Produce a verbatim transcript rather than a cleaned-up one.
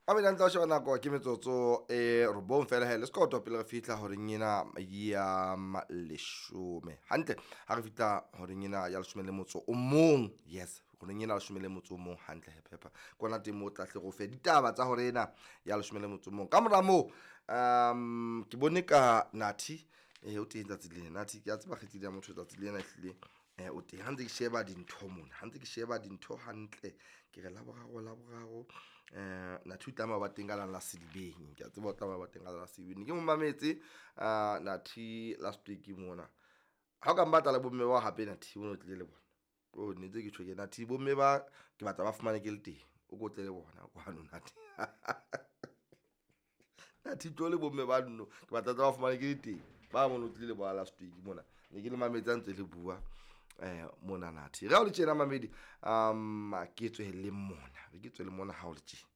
A bene ntse o sheba nako ke metsotso e robong fela he le sekoto pele re fihla horeng ena ya leshome hantle. Ha re fihla horeng ena ya leshome le motso o mong, yes, horeng ena ya leshome le motso o mong hantle he phepha kona teng moo o tla hle re o fe ditaba tsa hore ena ya leshome le motso o mong. Ka mora moo um ke bone ka Nathi eh o teng tsatsi lena. Nathi ke a tseba kgaitsedi ya motho tsatsi lena ehlile eh o teng. Ha ntse ke sheba dintho mona, ha ntse ke sheba dintho hantle, ke re Laboraro Laboraro eh Nathi o tlameha ho ba teng ka la la Sedibeng. Ke a tseba o tlameha ho ba teng ka la la Sedibeng. Ne ke mo mametse uh Nathi last week mona. Ha o ka mmatla le bomme bao hape Nathi o no tlile le bona. Oh ne ntse ke tjho ke Nathi bomme ba ke batla ba fumane ke le teng. O ko tle le bona kwano Nathi. Nathi tlo le bomme ba nno ke batla tla ba fumane ke le teng. Ba mono tlile le bona last week mona. Ne ke le mametse ha ntse le bua eh mona Nathi. Re ha o le tjena mamedi um ke tswe le mona. Ke tswe le mona ha o le tjena.